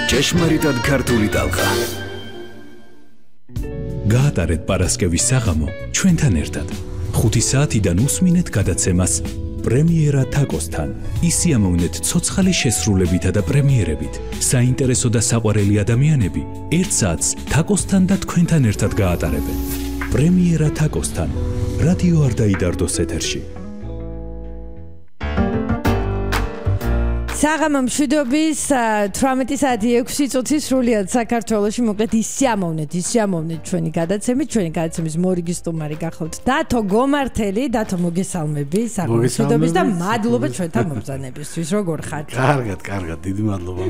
ჭეშმარიტად ქართული ტალღა. გაატარეთ პარასკევის საღამო ჩვენთან ერთად. 5 საათიდან უსმინეთ გადაცემას პრემიერა თაკოსთან. ისიამოვნეთ ცოცხალი შესრულებითა და პრემიერებით. საინტერესო და საყვარელი ადამიანები 1 საათს თაკოსთან და თქვენთან ერთად გაატარებენ. პრემიერა თაკოსთან. რადიო არ დაიდარდოს ეთერში. საღამო მშვიდობის 18 საათი 6 წუთი სრულიად საქართველოში მოკლედ ისიამოვნეთ ჩვენი გადაცემის მორიგი სტუმარი გახავთ დათო გომართელი. დათო მოგესალმები საღამო მშვიდობის და მადლობა ჩვენთან მომბრძანებისთვის. როგორ ხართ? კარგად, დიდი მადლობა.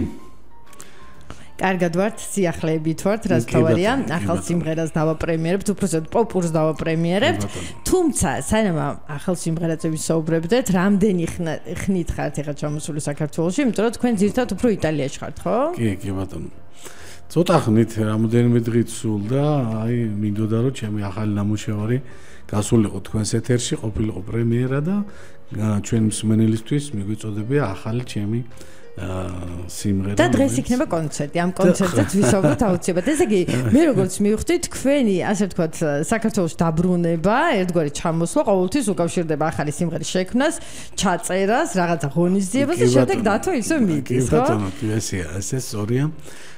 კარგად ვართ, სიახლეებით ვართ, რაც თავარია. ახალ სიმღერას დავაპრემიერებთ, უბრალოდ პოპურს დავაპრემიერებთ. თუმცა, სანამ ახალ სიმღერაზე ვისაუბრებდეთ, რამდენი ხნით ხართ ეხლა ჩამოსული საქართველოში, იმიტომ რომ თქვენ ძირთად უფრო იტალიაში ხართ, ხო? კი ბატონო. ცოტა ხნით რამოდენიმე დღით სულდა, მინდოდა რომ ჩემი ახალი ნამუშევარი გასულიყო თქვენს ეთერში, ყოფილიყო პრემიერა და ჩვენ მსმენელისთვის მიგვიწოდებია ახალი ჩემი სიმღერა. და დღეს იქნება კონცერტი. ამ კონცერტზეც ვისაუბროთ აუცილებლად. ესე იგი, მე როგორც მივხვდი, თქვენი, ასე ვთქვათ, საქართველოში დაბრუნება, ერთგვარი ჩამოსვლა ყოველთვის უკავშირდება ახალი სიმღერის შექმნას, ჩაწერას, რაღაცა ღონისძიებას და შემდეგ დათო ისე მიდის, ხო? კი ბატონო, ესე სწორია.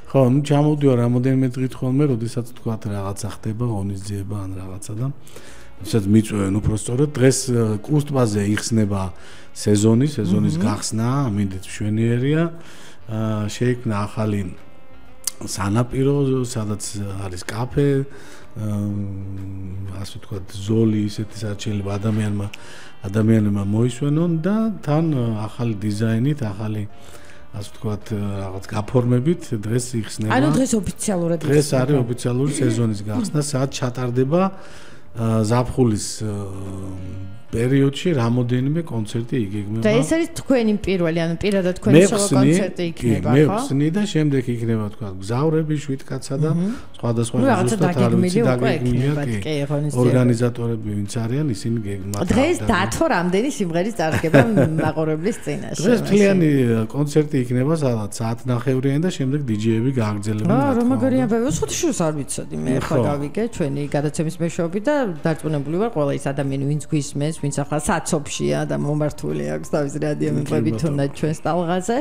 ხო, ჩამოვდივარ რამოდენიმე დღით ხოლმე, როდესაც ვთქვათ რაღაცა ხდება, ღონისძიება ან რაღაცა და ისეთ მიწვევენ უბრალოდ დღეს კუსტბაზე იხსნება სეზონის გახსნა, მინდით მშვენიერია. შეიქმნა ახალი სანაპირო, სადაც არის კაფე, ასე ვთქვათ, ზოლი, ისეთი საჩელება ადამიანებმა მოისვენონ და თან ახალი დიზაინით, ახალი ასე ვთქვათ, რაღაც გაფორმებით დღეს იხსნება. ანუ დღეს ოფიციალურად დღეს არის ოფიციალური სეზონის გახსნა, სადაც ჩატარდება ზაფხულის პერიოდში რამოდენიმე კონცერტი იგეგმება. და ეს არის თქვენი პირველი, ანუ პირადად თქვენი სოლო კონცერტი იქნება, ხო? მე ვხსნი და შემდეგ იქნება თქვა გზავრები, შვიდკაცა და სხვადასხვა ზუსტად ორგანიზატორები ვინც არიან, ისინი გეგმავენ. დღეს დათო რამდენი სიმღერის წარდგება მაყურებლის წინაშე. დღეს მთლიანი კონცერტი იქნება, სადაც საათნახევრიანი და შემდეგ დიჯეები გააგრძელებენ. რომ მაგარი ამბავი, სულ არ ვიცოდი, მე ხა გავიგე ჩვენი გადაცემის მეშვეობით და დარწმუნებული ვარ, ყველა ის ადამიანი, ვინც გვისმენს, ვინც ახლა საცობშია და მომართული აქვს თავისი რადიომეყრებით თუნდაც ჩვენს ტალღაზე,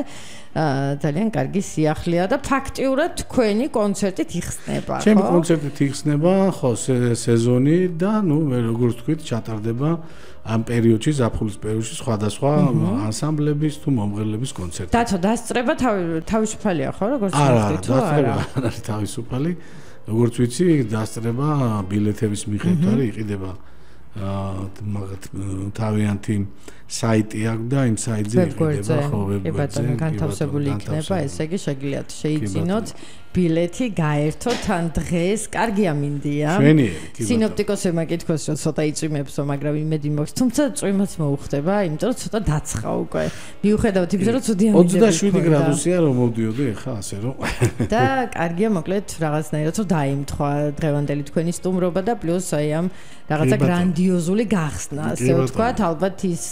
ძალიან კარგი სიახლეა და ფაქტიურად თქვენი კონცერტით იხსნება, ხო? ჩემი კონცერტით იხსნება, ხო, სეზონი და მე როგორც ვთქვით, ჩატარდება ამ პერიოდში, ზაფხულის პერიოდში სხვადასხვა ანსამბლების თუ მომღერლების კონცერტი. დათო, დასწრება თავისუფალია, ხო, როგორც ვთქვით, თუ არა? არა, თავისუფალი. როგორც ვიცი, დასწრება ბილეთების მიხედვით არის, იყიდება თავიანთი საიტი აქვს და იმ საიტზე იყიდება ხო ვებგვერდზე განთავსებული იქნება, ესე იგი შეგიძლიათ შეიძინოთ ბილეთი, გაერთოთ ან დღეს. კარგია მინდია. სინოპტიკოსებმა კითხოს რომ ცოტა იწვიმებს, მაგრამ იმედი მაქვს, თუმცა წვიმაც მოუხდება, იმიტომ რომ ცოტა დაცხა უკვე. მიუხედავად იმისა, რომ ცუდი ამინდები 27 გრადუსია რომ მოვდიოდი ახლა ასე რომ. და კარგია მოკლედ რაღაცნაირად რომ დაიმთხვა დღევანდელი თქვენი სტუმრობა და პლუს აი ამ რაღაცა გრანდიოზული გახსნა, ასე ვთქვათ, ალბათ ის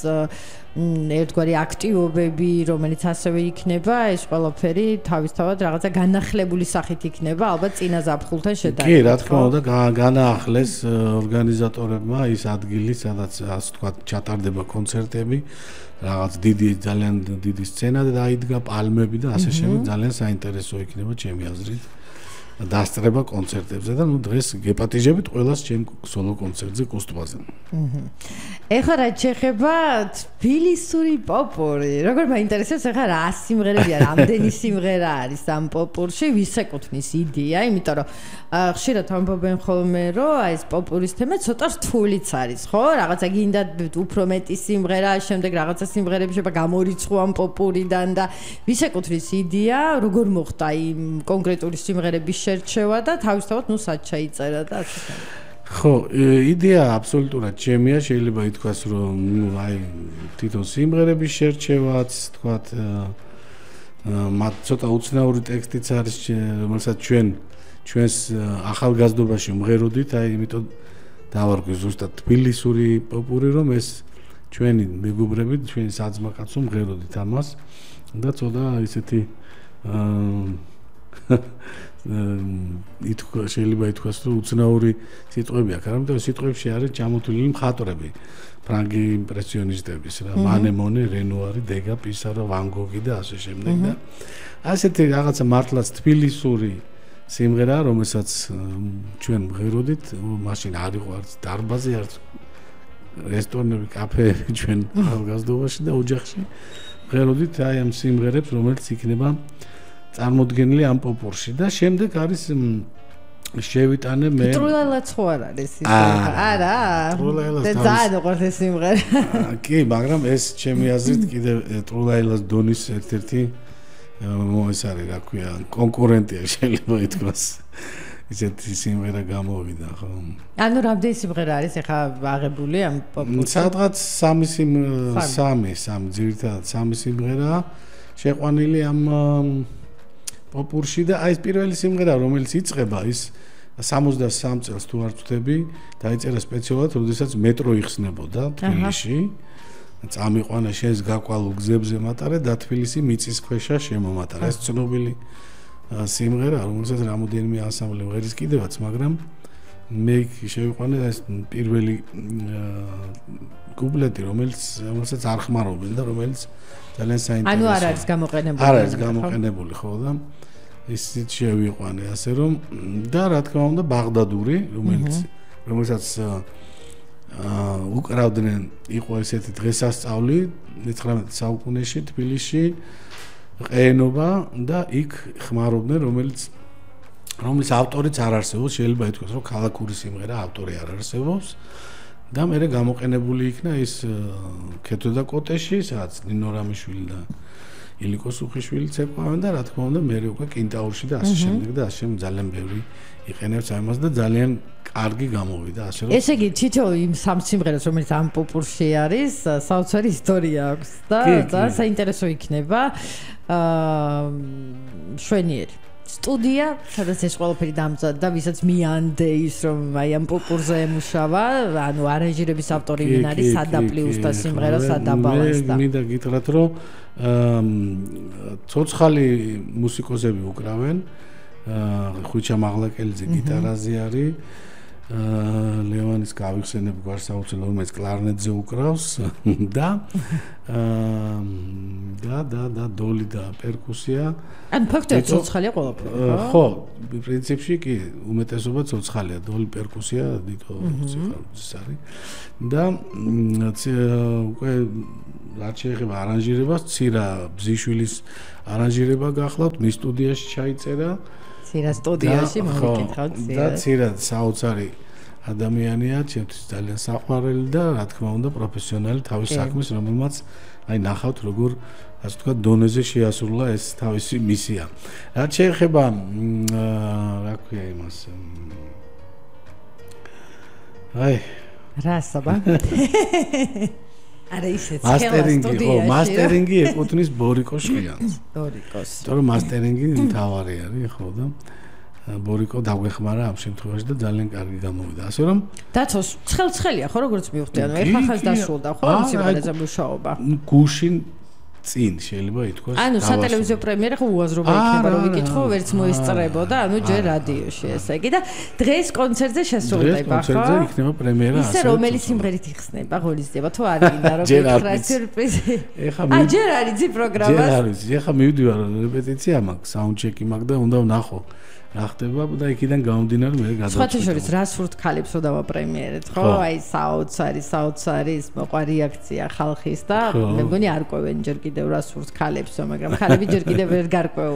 ერთგვარი აქტივობები, რომელიც ასევე იქნება, ეს ყველაფერი თავისთავად რაღაცა განახლებული სახით იქნება, ალბათ წინა ზაფხულთან შედარებით. კი, რა თქმა უნდა, განაახლეს ორგანიზატორებმა ის ადგილი, სადაც ასე ვთქვათ, ჩატარდება კონცერტები, რაღაც ძალიან დიდი სცენა და დაიდგა პალმები და ასე შემდეგ, ძალიან საინტერესო იქნება ჩემი აზრით. დასწრება კონცერტებზე და დღეს გეპატიჟებით ყველას ჩემ სოლო კონცერტზე კუსტბაზე. ეხლა რა შეხება თბილისური პოპური. როგორ მაინტერესებს ეხლა რა სიმღერებია, რამდენი სიმღერა არის ამ პოპურში, ვის ეკუთვნის იდეა, იმიტომ რომ ხშირად ამბობენ ხოლმე, რომ აი ეს პოპურის თემა ცოტა რთულიც არის, ხო? რაღაცა გინდა უფრო მეტი სიმღერა, შემდეგ რაღაცა სიმღერები შეიძლება გამორიცხო ამ პოპურიდან და ვის ეკუთვნის იდეა, როგორ მოხდა იმ კონკრეტული სიმღერების შერჩევა და თავისთავად ნუ სად ჩაიწერა და ასე შემდეგ. ხო, იდეა აბსოლუტურად ჩემია, შეიძლება ითქვას, რომ აი თვითონ სიმღერების შერჩევაც, თქვათ, მათ ცოტა უცნაური ტექსტიც არის, რომელსაც ჩვენს ახალგაზრდობაში ვმღეროდით, აი იმიტომ დავარქვი ზუსტად თბილისური პოპური, რომ ეს ჩვენი მეგობრები, ჩვენი საძმაკაცო ვმღეროდით ამას და ცოტა ისეთი შეიძლება ითქვას, რომ უცნაური სიტყვები აქვს, მაგრამ სიტყვებში არის ჩამოთვლილი მხატვრები. ფრანგი იმპრესიონისტების რა, მანე მონე, რენუარი, დეგა, პისარო, ვან გოგი და ასე შემდეგ და ასეთი რაღაცა მართლაც თბილისური სიმღერა, რომელსაც ჩვენ მღეროდით, მაშინ არ იყო არც დარბაზი, არც რესტორნები, კაფეები ჩვენ ახალგაზრდობაში და ოჯახში მღეროდით აი ამ სიმღერებს, რომელიც იქნება წარმოდგენილი ამ პოპურში და შემდეგ არის შევიტანე მე ტრულალაც ხო არ არის ის არა და ძალიან უყვართ ეს სიმღერა კი მაგრამ ეს ჩემი აზრით კიდევ ტრულალას დონის ერთ-ერთი ეს არის რა ქვია კონკურენტია შეიძლება ითქვას ისეთი სიმღერა გამოვიდა ხო ანუ რამდენი სიმღერა არის ახლა აღებული ამ პოპურში სადღაც სამი ძირითადად სამი სიმღერა შეყვანილი ამ პოპურში და აი ეს პირველი სიმღერა რომელიც იწყება ის 63 წელს თუ არ ვწდები დაიწერა სპეციალურად როდესაც მეტრო იხსნებოდა თბილისში წამიყვანა შენს გაკვალულ გზებზე მატარე და თბილისი მიწისქვეშა შემომატარა ეს ცნობილი სიმღერა რომელსაც რამოდენიმე ანსამბლი მღერის კიდევაც მაგრამ მე შევიყვანე ეს პირველი კუპლეტი რომელსაც არ ხმარობენ და რომელიც ძალიან საინტერესოა. ანუ არ არის გამოყენებული. არ არის გამოყენებული, ხო და ისიც შევიყვანე, ასე რომ და რა თქმა უნდა ბაღდადური, რომელსაც უკრავდნენ, იყო ესეთი დღესასწაული 19 საუკუნეში თბილისში ყენობა და იქ ხმარობდნენ, რომლის ავტორიც არ არსებობს, შეიძლება ითქვას, რომ ქალაქური სიმღერა ავტორი არ არსებობს. და მე გამოყენებული იქნა ის ქეთო და კოტეში, სადაც ნინო რამიშვილი და ილიკო სუხიშვილი ცეკვავენ და რა თქმა უნდა მე უკვე კინტაურში და ასე შემდეგ და ასე ძალიან ბევრი იყენებს ამას და ძალიან კარგი გამოვიდა ასე რომ ესე იგი თითო იმ სამ სიმღერას რომელიც ამ პოპურში არის საოცარი ისტორია აქვს და საინტერესო იქნება შვენიერი სტუდია, სადაც ეს ყველაფერი დამზადდა, ვისაც მიანდე ის რომ აი ამ პოპურზე ემუშავა, ანუ არანჟირების ავტორი ვინ არის, სადა პლუსთა სიმღერა, სადა ბალანსდა. მინდა გითხრათ, რომ ცოცხალი მუსიკოსები უკრავენ, ხვიჩა მაღლაკელიძე გიტარაზე არის, ლევანის გავიხსენებ გვარს აუცილებლად, რომელიც კლარნეტზე უკრავს და დოლი და პერკუსია. ან ფაქტობრივად ცოცხალია ყველაფერი. ხო, პრინციპში კი უმეტესობა ცოცხალია, დოლი პერკუსია, დიტო ციხარუძის არის. და უკვე რაც შეეხება არანჟირებას, ცირა ბზიშვილის არანჟირება გახლავთ, მის სტუდიაში ჩაიწერა. ცირა სტუდიაში მოვიკითხავთ და ცირა საოცარი ადამიანია, ჩემთვის ძალიან საყვარელი და რა თქმა უნდა პროფესიონალი თავის საქმის, რომელმაც აი ნახავთ როგორ ასე ვთქვათ დონეზე შეასრულა ეს თავისი მისია. რაც შეეხება რა ქვია იმას აი რა საბა არა ისეც მასტერინგი ეკუთვნის ბორიკო შხიანს. ბორიკოს. თორემ მასტერინგი მთავარი არის ხო და ბორიკო დაგვეხმარა ამ შემთხვევაში და ძალიან კარგი გამოვიდა. ასე რომ დაცოს ცხელცხელია ხო როგორც მივხვდი ანუ ეხლა ხალხს დასრულდა ხო ამ სიმღერაზე მუშაობა. გუშინ წინ შეიძლება ითქვას. ანუ სატელევიზიო პრემიერა ხო უაზრობა იქნება რომ ვიკითხო, ვერც მოისწრებოდა, ანუ ჯერ რადიოში ესე იგი და დღეს კონცერტზე შესრულდება ხო? კონცერტზე იქნება პრემიერა ასე. ისე რომელი სიმღერით იხსნება, ღონისძიება თუ არ გინდა რომ გითხრა სიურპრიზი. ჯერ არის ძი პროგრამა. ჯერ არის, ეხლა მივდივარ რეპეტიცია მაქვს, საუნდჩეკი მაქვს და უნდა ვნახო. რა ხდება და იქიდან გამომდინარე მე გადავწყვეტ. სხვათა შორის რას ვურთ ქალებსო დავაპრემიერეთ, ხო? აი საოცარი ის მოყვა რეაქცია ხალხის და მე მგონი არ ყვევენ ჯერ კიდევ რას ვურთ ქალებსო, მაგრამ ქალები ჯერ კიდევ ვერ გარკვეულ